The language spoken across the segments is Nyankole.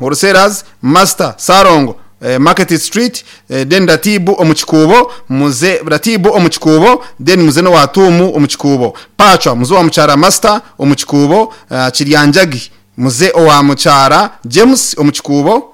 Wholesalers, Master Sarongo, Market Street, then Ratibu omu Kikuubo, muze Ratibu omu Kikuubo, then muze n'owa Tuumu omu Kikuubo. Pacwa muze owa Mukyara Master omu Kikuubo, Kiryanjagi muze owa Mukyara James omu Kikuubo.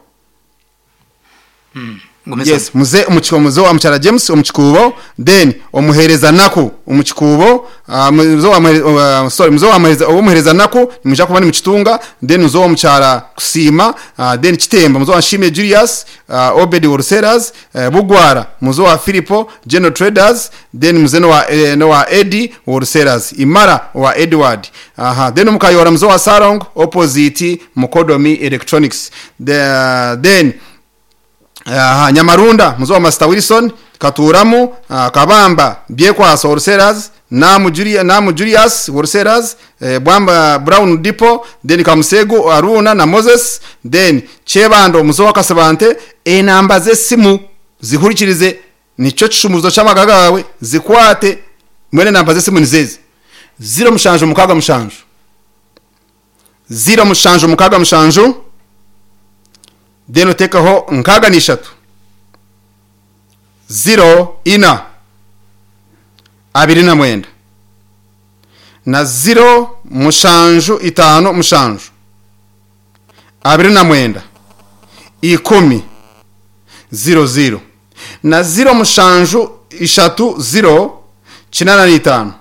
Gumizamu. Yes, muze omu ki- muze owa Mukyara James omu Kikuubo, then omuheereza Naku omu Kikuubo, ah, muze owa muhere- owa- sorry, muze owa muheereza ow'omuheereza Naku nimwija kuba nimukitunga, then muze owa Mukyara Kusiima, ah, then Kitemba muze owa Nshimye Julius, ah, Obedi Wholesalers, eh, Bugwara muze owa Philipo General Traders, then muze n'owa eh, n'owa Eddie Wholesalers, Imara owa Edward, aha, then omu Kayora muze owa Salongo opposite Mukodomi Electronics, the, then aha, Nyamarunda muze owa Master Wilson, Katuuramu, ah, Kabamba Byekwaso Wholesalers, Naamu Julia, Naamu Julius Wholesalers, eh, Bwamba Brown Depot, then Kamusegu Aruna na Moses, then Kyebando muze owa Kasibante, enamba z'esimu zihurikirize nikyo kishumuruzo ky'amagara gaawe zikwate mbwenu enamba z'esimu nizo ezi 0767 0767 then oteekaho 63 04 29 na 0757 29 10 00 na 0730 85.